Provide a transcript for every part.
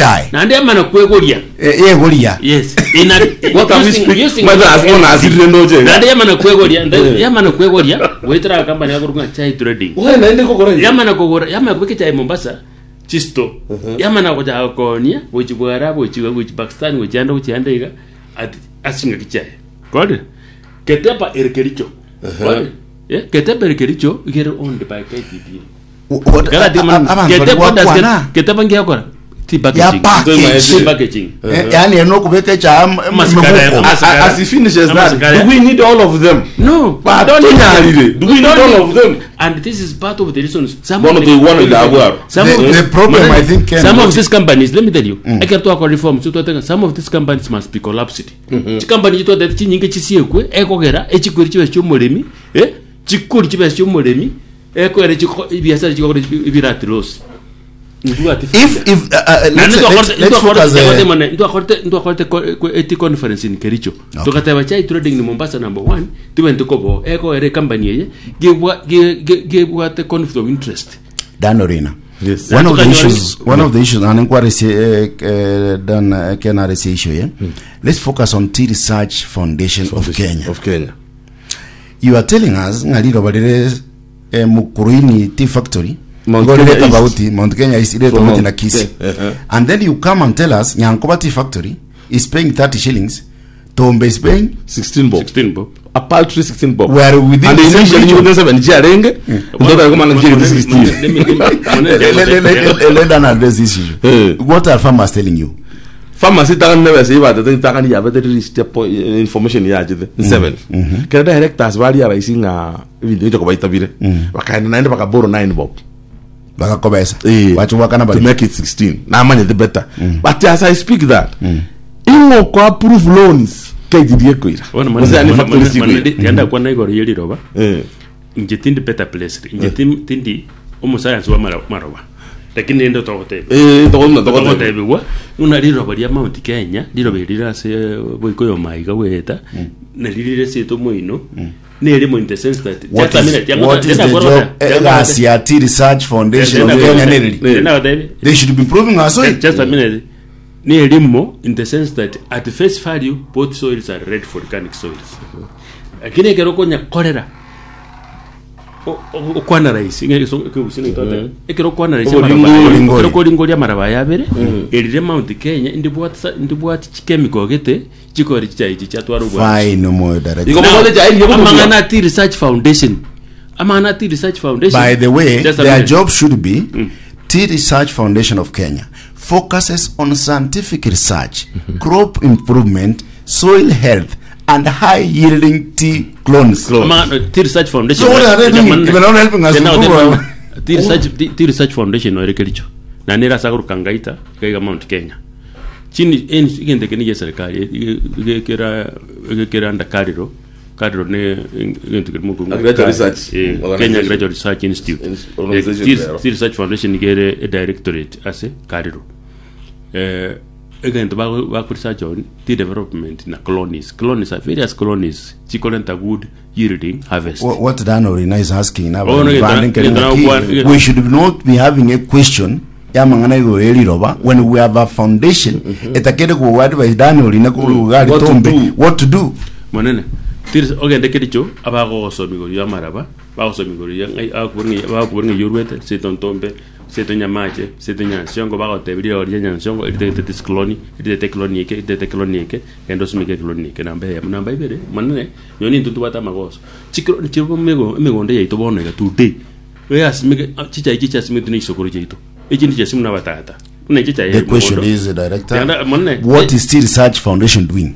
echae. Naende yamana kwegoria. Eh, yegoria. Yes. In a, What are we using- speak- using- Mother has gone as it ndoche. Naende yamana kwegoria, nda- yamana kwegoria, goetera company yakorwa ng'a chai trading. Oye naende kogora inche. Yamana kogora, yamana kobeka echae Mombasa, chisto. Yamana gochaka koonia, gochi Bwara, gochi gochi Pakistan, gochi ande gochi ande iga, ati ase chingaki chiaye. Korire? Ketepa ere Kericho. Korire? Eh, Ketepa ere Kericho, iga ere owned by KTDA. What- Karati a- a- man- abanto bari Ketepa does gwakwana. Ket- Ketepa ngiakora? Tea Ya packaging. package. Tea packaging. Eh, yaani ere nokobeka echae am- Amasikara- emebuko. amasikara. As he finishes that, Amasikara. do we need all of them? No, But don't need tonyarire. them. Do we need Don't all of them? And this is part of the reasons. Some Bono of the- toigwana ida abwaro. Some The- of the problem, I think, Ken, some what of these companies, let me tell you, mm. ekero twakora reforms, twatega some of these companies must be collapsed. Chicompany chitwatete chinyinge chisiekwe ekogera echikweri chibe chiomoremi, eh, chikori chibe chiomoremi, ekogera chiko ebiasara chigokora ebire at loss. Ntibwati If if uh, uh, let's, let's, let's focus uh, ntwakorete ntwakorete eti conference in Kericho Okay. tukateba chai trading ni Mombasa number one tibente kobo ekoere company eye gebwa ge- ge- gebwate conflict of interest Dan Orina. Yes. One of the Tukanyora- issues, one of the issues, and inquiry uh, uh, Dan uh, Ken RC issue, yeah? Let's focus on Tea Research Foundation, of Kenya. Of Kenya. You are telling us ng'a riroba rire eh, Mukuruini Tea Factory Mount igo rire Kenya East. tofauti Mount Kenya East ire From tofauti Mount na Kisii. Ke- eh, eh. And then you come and tell us Nyankoba Tea Factory is paying 30 shillings, Tombe is paying 16 bob. 16 bob A paltry 16 bob. We are within And the same initially region. you seven chiarenge. Ndoda koma na chiri 16. Let me- let me- Let, let, let, let, let Dan address this issue. Eh. What are farmers telling you? Pharmacy takani nebesa ibatete takani yabete release information yachete 7. Kera directors bari araisi ng'a ebinto ebinto kobaitabire. Bakaenda naende bakaboro 9 bob. Bakakobesa. Eh, Bacho wakana to bari. make it 16 namanyete better but as i speak that ing'o ko approve loans KTDA koira Bono Gose yani factory chikoira yanda kwana igoro ye riroba Eh. inche tindi better placed inche tim- tindi omosayansi wa mara- maroba lakini nende togoteba Eh, togoteba togoteba togotebigwa buna riroba ria Mount Kenya riroba eri rire ase boikoyo maiga goeta nari rire ase omoino nerimo in the sense that What just a is, minute, what is the job egasi ya Tea Research Foundation of Kenya nereri? They should be improving our soil. Just a minute. Nerimo in the sense that at face value both soils are red volcanic soils. Lakini ekero okonyakorera o- o- okwana rahisi ng'e egeso- ekegusii nigo twateba. Ekero okwana rahisi Oboringori. amaraba- Oboringori. ekero okoringoria amaraba aya abere erire Mount Kenya ndibwati sa- ndibwati chikemiko gete chikore chichai echi chiatwara obwanchi. Fine, Omoyo Director. Igo Now, bogote chai ndiye amang'ana kobugia. a Tea Research Foundation amang'ana a Tea Research Foundation By the way, Just a their minute. job should be Tea Research Foundation of Kenya focuses on scientific research, crop improvement, soil health, and high yielding tea clones. Amang'ana- Tea Research Foundation So what are they doing? Jamani, If they're not helping us Tena improve oteba- our- Tea Research- Tea- Tea Research Foundation noere Kericho na nere ase akoruka Ngaita iga iga Mount Kenya chini en- egento eke nigia eserikari egekera egekera under Kariro Kariro ne egento keri mokungu Agriculture Research Eh, Kenya Organization. Agriculture Research Institute Ins- organization Eh, Tea- there. Tea Research Foundation nigo ere e directorate ase Kariro eh, egento bago- bako research on tea development na colonies colonies are various colonies chikorenta good yielding harvest What, what Dan Orina is asking now, Oh, no, Brandon get- Kering get- Aki, get- we should not be having a question yamang'ana igoro eriroba when we have a foundation etakere kuwa advice Dan Orina kuruga What to tombe do. what to do monene tiri ogende kericho abagogosoma igoro ya amaraba bagosoma igoro ya ng'ai bakobora ng'ai bakobora ng'ai orwete seto ntombe seto nyamache seto nyansiongo bagotebia riroba ria nyansiongo eritagete this clone eritagete clone eke eritagete clone eke genda osumeke clone eke namba eyemo namba ibere monene nonye nintwe ntobwate amagoso chikro chiro emego emegondo yaito bono iga today eyasimeke chichai chichasimete na chisokoro chiaito echinde chiasimwa na abatata buna echi the question is director Yanda- monene what is Tea Research Foundation doing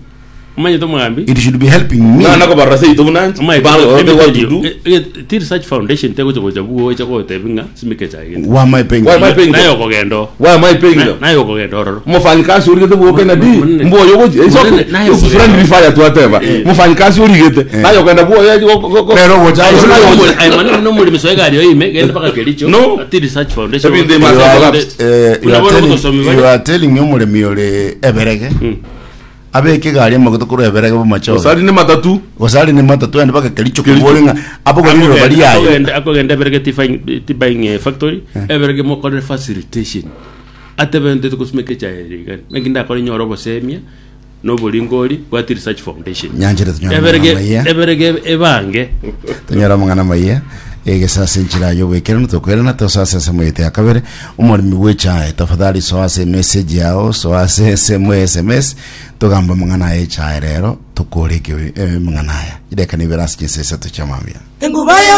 omanyete omogambi it should be helping me Na nakobarora seito buna inche. Omaete, Bana, let me what tell to you, do. eh, eh, Tea Research Foundation tegocha gocha bugo echa gotebi ng'a simeka echae gete. why am I paying Why am I paying Naye them? okogenda oo. Why am I paying Na- them? naye okogenda ororo. Mufanyikazi origete bwoke na di Monene. mboyo gochi it's Monene, okay naye It's okogenda. friendly fire twateba mufanyikazi origete naye okogenda bwoyo Pero gocha- Aye, Naye nomori- aye, manene nomorimi soe egari oyo ime, genda mpaka Kericho. No. Tea Research Foundation. Everything must You have are, collapsed. eh, you Buna are bono telling, ogosomi you bare. are telling me omoremi ore eberege abeke egari amagoto korwa eberege bomachoge Osari ne matatu gose ne matatu ende mpaka Kericho kobore ng'a abogori riroba riaye Akogenda akogenda eberege tea buying- tea buying eh, factory eberege mokorere facilitation. Atebe ntete gosimeka echae ere igani. Naki ndakore nyore obosemia na oboringori bwa Tea Research Foundation. Nyanchire tonyore Eberege amang'ana maiya. eberege ebange. Tonyore amang'ana maiya egesa ase enchera y'oboikeranu tokwerana tosoe ase ensemo yaito ya kabere omoremi bw'echae tafadhali soa ase emessage yao soa ase ensemo ya sms togambe amang'ana aya echae rero tokore ekio amang'ana aya chidakika nibere ase chinsa isato chia mambia. Enguba ya.